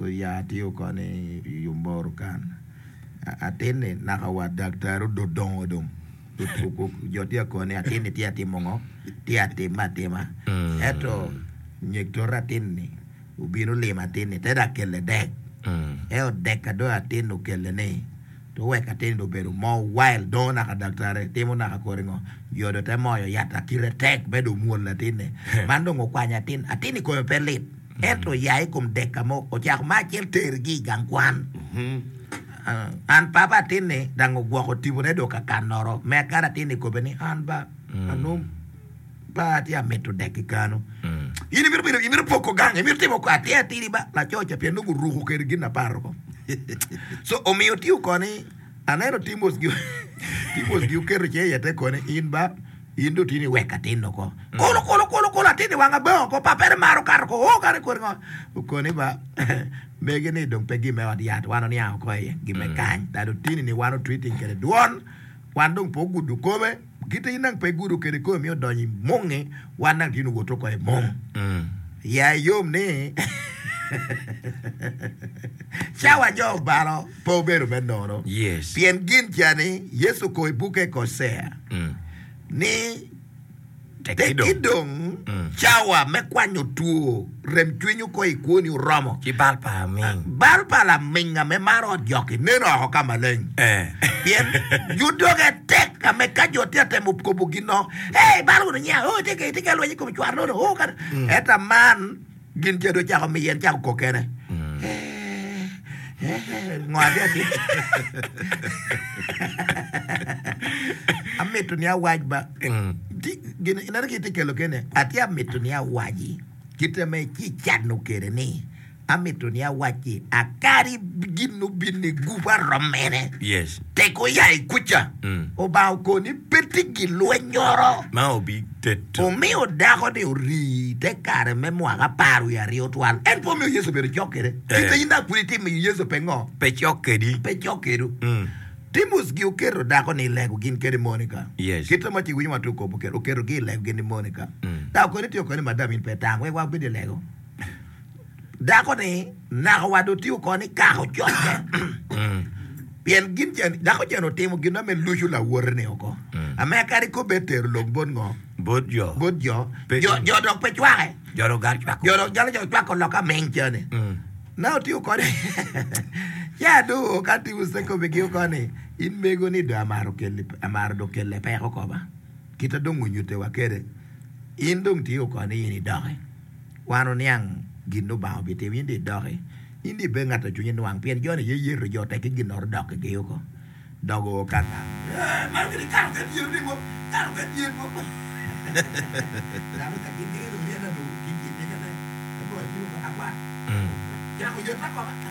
Oya tye oko ni i Omoro kan. Atin-ni naka wa daktari ododongo dong. Jo tye ka koni atin-ni tye ka timo ngo? Tye ka timme atima. Ento nyeg toto atin-ni obino limo atin-ni te dok kelle dek. Ento dek ka dong atin-ni okelle ni to wek atin-ni dong obedo more wild dongo naka daktari timo naka kodi ngo? Jo dong te moyo yat akite tek me dong mwol atin-ni. Man dong okwanyo atin, atin-ni kome pe lit. Ento oya i kom dek ka mo, ocako ma acel tergi i gang kwan. An papa atinni dang ogwoko tipone dong ka kanoro me akara atinni kobe ni an ba anong pa atye amito dek ki kano. In imito bedo imito poko gang imito timo ko atir atiri ba laco ca pien nongo oruko kede gin aparo ko. So omiyo tiyo koni aneno Timos gi Timos gi oketo ce iye te koni in ba In dong tye ni wek atin oko. Kulu, kulu, kulu, kulu, atin i wanga bong oko, papere maro kato oko, oo kare kodi ngo. Okoni ba, mege ni dong pe gin me ot yat, wan oniang oko iye, gin me kany. Dado tini ni wan otreating kede dwon, wan dong pe ogudo kome, kite in dang pe igudo kede kome miyo odonyo i mungi, wan dang tye ni owoto oko i mung. Ya iyom ni cawa jo obalo pe obedo me nono. Pien gin ca ni Yecu oko i bukke Kocea. ni tekki dong cawa me kwanyo two remcwiny oko i kwoni oromo. Ci bal pa aming. Bal pa laminga me maro ot jok-ki nen oko ka maleng. Pien jo doge tek ka me ka jo tye ka temo kobo gin no, Ee, ibalo wunu nya, oo, itye ka lweny i kom cwar nono, oo, kadi. Ento man. Gin ca dong ocako miye, en cako kok kene. Ngo atye atye? Amito ni awac ba. Ti- Gin ineno ki itye kelo kene. Atye amito ni awaci kite me ci cano kede ni amito ni awaci akadi gin obin ni gup arom mene. Yes. Tek oya i kuca. Obanga okoni pe tye gilwenyoro. Ma obi teto. Omiyo dako-ni ori te kare me mwaka apar wiye aryo twal. En pe omiyo Yecu obedo cok kwede. Kite in dok pud itimo i Yecu pe ngo? Pe cok kwedi. Pe cok kwedwu. Timus-gi oketo dako-ni i lego gin kede Monika. Yes. Kite ma ci winyo wa tuko oketo oketogi i lego gin ki Monika. Dok koni tye okoni madam in pe itang wek wabed i lego. Dako-ni naka wa dong tye oko ni kako cokke. Pien gin cen, dako cen otimo gin me luco lawote-ni oko. Ame kadi kobbe tero lok bot ngo? Bot jo. Bot jo. Pe- Jo, jo dok pe cwake. Jo dok gal cwako. Jo dok jalo jo cwako lok aming cene. Na otiyo kode. Ca do ka timo se kobe gi oko ni in mego ni do amaro kelli amaro do kelle peko koba. Kita dong onyute wa kede. In dong tiyo oko ni in idoki. Wan oniang gin Lubanga obitimo, in dong idoki, in dong ibed ngat a cwinye nwang, pien jo-ni aye yeto jo tek ki ginnoro dok ki oko, dok oo ka nga. Ee, man kadi kato ket yen ni mo, kato ket yen mo. Dano ka gin nino myeta dong ki gin ni kene, ka dong atye ka akwat, cako yeta koka.